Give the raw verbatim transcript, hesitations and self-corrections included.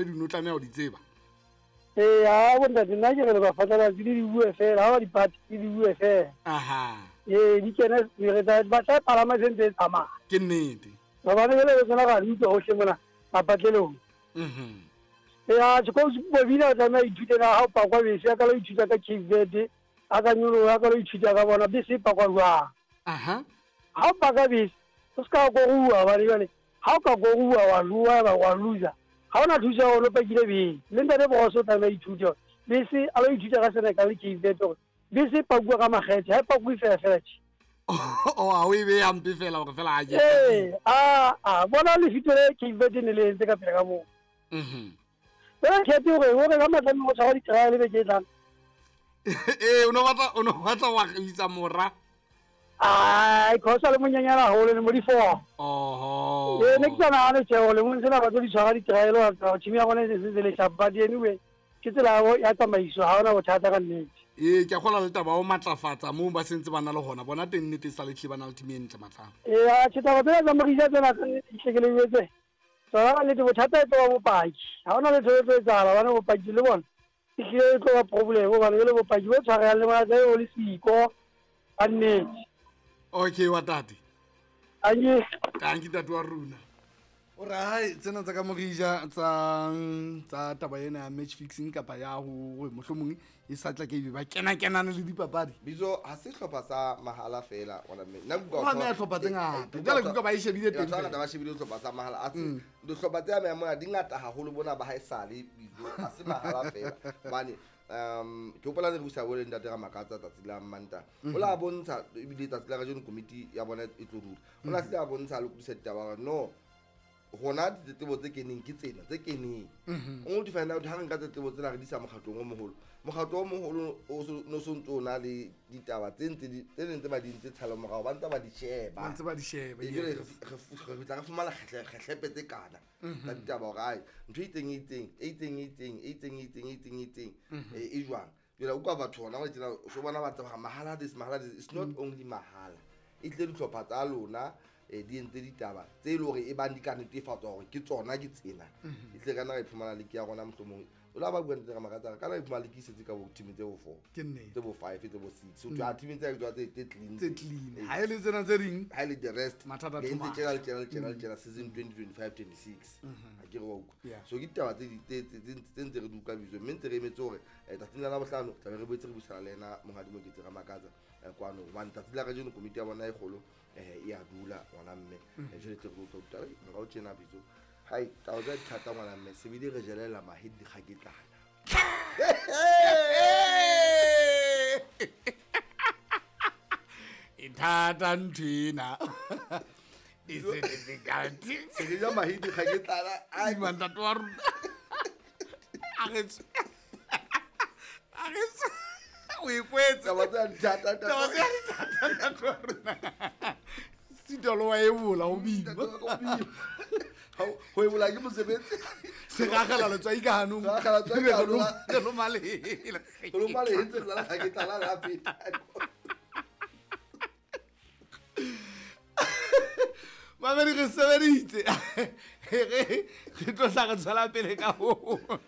di no tlameha ho di tseba. Ee, a bontate nna ke re le bafatsalatsi le di bue fela, ha ba dipati le di bue fela. Aha. Ee, di kene re tla ba tla palama se ntse e tsamaya. Ke nnete. Hobane jwale re tsena ra di utlwa hohle mona mapatlelong. Mhm. Ee, a tjhe Bobina o tlameha ithute na ha o pakwa bese, a ka lo ithuta ka Cape Verde, a ka nyoloha, a ka lo ithuta ka bona bese e pakwa jwang. Aha. Ha o paka bese, o ska koruwa hobane jwale ha o ka koruwa wa lua ba wa loser. Ha ona thuso ya hore o pakile bese. Le ntate Bogoso o tlameha ithute hore bese a lo ithuta ka Senegal le Cape Verde hore bese e pakuwa ka makgethe, ha e pakuwe fela fela tje. O a o e beha hampe fela hore fela a je. Ee, a a bona lefito le Cape Verde ne le entse ka pele ka moo. Mhm. Fela kgethe hore hore ka matlame go tshwara di-trial beke e tlang. Ee, o no batla o no batla wa isa mora. Ai, khosa le monyenyana haholo le mo di four. Oho. Ee, ne ke sa nahane tjhe hore lemong sena ba tlo di tshwara di-trial hore team ya rona e se se le sharp, but anyway ke tsela ya tsamaiso, ha hona bothata ka nnete. Ee, ke a kgolwa le taba ya ho matlafatsa moo ba sentse ba na le hona. Bona teng nnete e sa le hlile ba na le team e ntle matlamo. Ee, atjhe taba tsena tsa Morija tsena ka nnete di hlekeleetse. Tsona ka nnete bothata e tlo ba bopaki. Ha hona letho le tlo etsahala hobane bopaki le bona e hlile e tlo ba problem hobane jwale bopaki bo tshwarehang le bona tlabe bo le siko ka nnete. Okay, wa tate. Tanki. Tanki tate wa rona. O re hai tsena tsa ka Morija tsa tsa taba ena ya match fixing kapa ya hore mohlomong e sa tla ke ebe ba kena kenana le dipapadi. Bizo ha se hlopha sa mahala fela wona mme. Nna ke Ho ameha hlopha tse ngata. Jwale ke utlwa ba e shebile teng Batho ba fela. ba shebile hlopha sa mahala. A se Mm. dihlopha tse amehang mona di ngata haholo bona ba haesale bizo ha se mahala fela. Hobane um ke hopola re busa bole ntate Ramakatsa tsatsi la Mantaha. O la bontsha ebile tsatsi la kajeno komiti ya bona e tlo dula. O la hlile a bontsha a lokodisa ditaba hore no rona ditletlebo tse keneng ke tsena tse keneng. O to find out ha re nka tletlebo tsena re di isa mokgatlong o moholo. Mokgatlo o moholo o so no so ntso o na le ditaba tse ntse di tse neng tse ba di ntse tshalo morao ba ntse ba di sheba. Ba ntse ba di sheba, E jwale yes. re re re tla re fumana kgehle kgehlepe tse kana tsa ditaba hore ai ntho e itseng e itseng e itseng e itseng e itseng e itseng e itseng e itseng e e jwang. Jwale o utlwa batho hona jwale tjena o so bona ba tseba mahala this mahala this it's not only mahala. E tlile dihlopha tsa lona eh di entse ditaba tse e leng hore e bang di ka netefatswa hore ke tsona ke tsena. E tle kana ra iphumana league ya rona mohlomong. O la ba bua ntate Ramakatsa kana iphumana league e setse ka bo team tse bo four. Ke nnete. Tse bo five tse bo six. So a team tse tse tse clean. Tse clean. Ha e le tsena tse ding Ha e le the rest Mathata le ntse too much. tjena le tjena le tjena le tjena season twenty twenty-five twenty-six. Ha ke re wa utlwa. Yeah. So ke ditaba tse di tse tse tse ntse re di utlwa bitso mme ntse re emetse hore eh, tsatsing la Labohlano tla be re boetse re buisana le yena monghadi Moketsi Ramakatsa eh, kwano hobane tsatsi la kajeno komiti ya bona e kgolo eh e a dula ngwana mme. Eh, jwale tle re utlwa ditaba morao tjena bitso. Hai taba tsa thata ngwana mme se bile re jelela mahe dikgaketlana. E thata ntho ena. Is it difficult? Se re ja mahe dikgaketlana. Ai Ai ntate wa rona. A re tswe. A re tswe. O e kwetse. Taba tsa thata Taba tsa thata ntate wa rona. Sitolo wa ebola ho bima. Ho ebola ke mosebetsi. Se ragela letswai ka hanong. Se ragela letswai ka hanong. Re loma lehe. Re loma lehe ntse re lala kgaketlana la feta. Mamedi re sebeditse. Re re tlo hla re tswela pele ka ho.